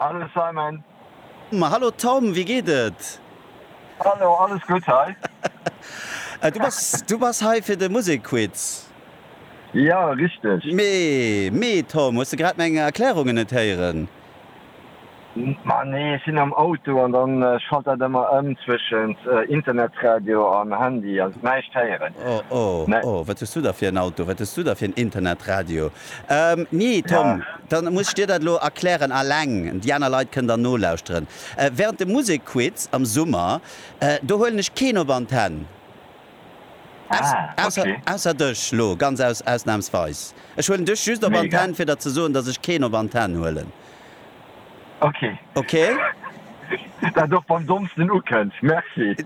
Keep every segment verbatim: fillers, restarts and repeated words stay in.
Hallo Simon. Hallo Tom, wéi geet et? Hallo, alles gutt hei. Du bass, du bass hei fir de Musekquiz? Jo, richteg. Mee, mee Tom, hues de grad meng Erklärungen net héieren? Ma nee, ech sinn am Auto an dann schalt dat ëmmer ëm zwëschent Internetradio an Handy an näischt héieren. Oh, oh, oh, wat hues du da fir en Auto? Wat hues du da fir en Internetradio? Nee, Tom, dann muss ech dir dat elo erklären alleng, déi aner Leit kënnen dann nolauschteren. Während dem Musekquiz am Summer, do huelen ech keen op Antenn. Ausser, ausser dech lo, ganz aus, ausnahmsweis. Ech huelen dech just op Antenn, fir der ze soen, dass ech keen op Antenn huelen. Ok. Ok. Dat och beim dommsten ukënnt. Merci.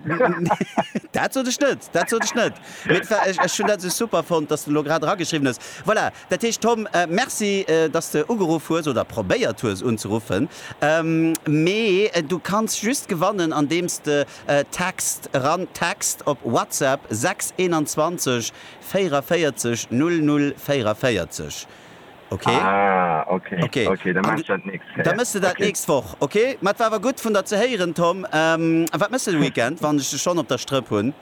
Dat sot ech net, dat sot ech net. Mee et war, ech, ech hunn dat esou super fonnt, dass de elo grad erageschriwwen hues. Voilà, dat heescht Tom, merci, dass de ugeruff hues oder probéiert hues unzeruffen. Mee du kanns just gewannen, andeems de Text eran text op WhatsApp sechs eenanzwanzeg véieraféierzeg null null véieraféierzeg. Ok. Ah, ok, ok, da maache ech dat d'nächst Kéier. Da méchs de dat d'nächst Woch, ok? Ma et war awer gutt vun der ze héieren, Tom. A wat méchs de de Weekend, wann ech dech schonn op der Strëpp hunn?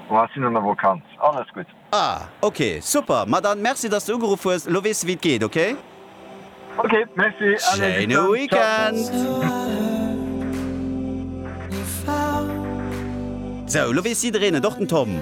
Oh, ech sinn an der Vakanz, alles gutt. Ah, ok, super. Ma dann merci, dass de ugeruff hues. Elo weess de wéi et geet, ok? Ok, merci, allez, bis Schéine dann, ciao. Weekend! Sou, elo weess jiddereen et, och den Tom.